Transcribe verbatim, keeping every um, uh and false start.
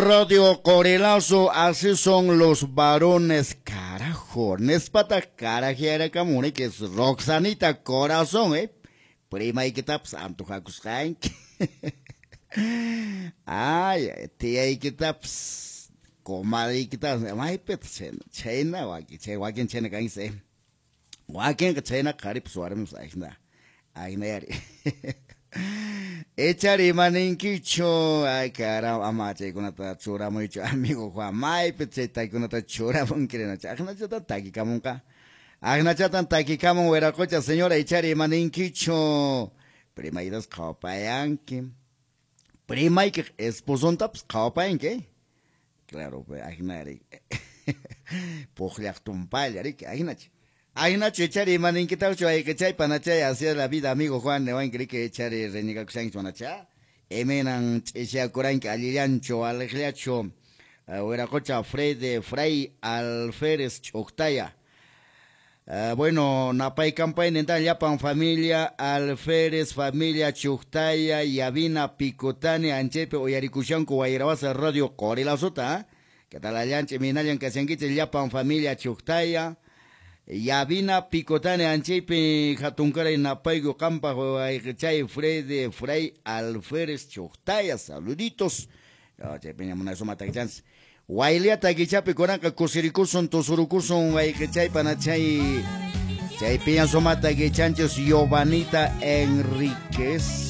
Radio Corelazo, así son los varones, carajo. Nespata carajiarakamuni, que es Roxanita Corazón, eh. Primaykitapas antojakusqanki. Ay, tiyaykitapas, comadreykitapas, maypitaq chayna, chayna wakin, chay wakin chayna kanchis, eh. Wakinqa chayna qharipas warmipas ajina, ajinayari. Echari imaninkichu, ay caramba, ama chaykunata churamuychu, amigo Juan, maypi chay takikunata churamunkirinachu, ajinachatan takikamunqa. Ajinachatan takikamun wiraqocha, señora, echari imaninkichu, primaytas qhawapayanki, primaykiq esposontapas qhawapayanki, eh? Claro, pues, ajinari, puqllaq tumpalla, riki, ajinachu. Ajinachu echari imaninkitaqchu ayqichay panachay, así es la vida, amigo Juan, newanki riki echari reñigakushankichu manacha, imaynan ch'isyakuranki allillanchu aliqllachu, wiraqocha Fred Fray Alférez Ch'uqtaya. Uh, bueno, napay campaña llapan familia Alférez, familia Chuctaya, Yavina Picotani, Anchepe, Oyarikushanku, Guayrawasa, Radio Corilazota, ¿eh? ¿Qué tal allanche, minallan kashankiche, llapan familia Chuctaya, Yavina Picotani, Anchepe, Jatuncaray, Napaygo, Campa, Chay, Fred, Fray Alférez, Chuctaya, saluditos. Chepe, ña suma takichans. Wayliata kichapi kunanqa kusirikusun tusurukusun wayqichay panachay. Chay piña sumata kichanchis Giovanita Enríquez.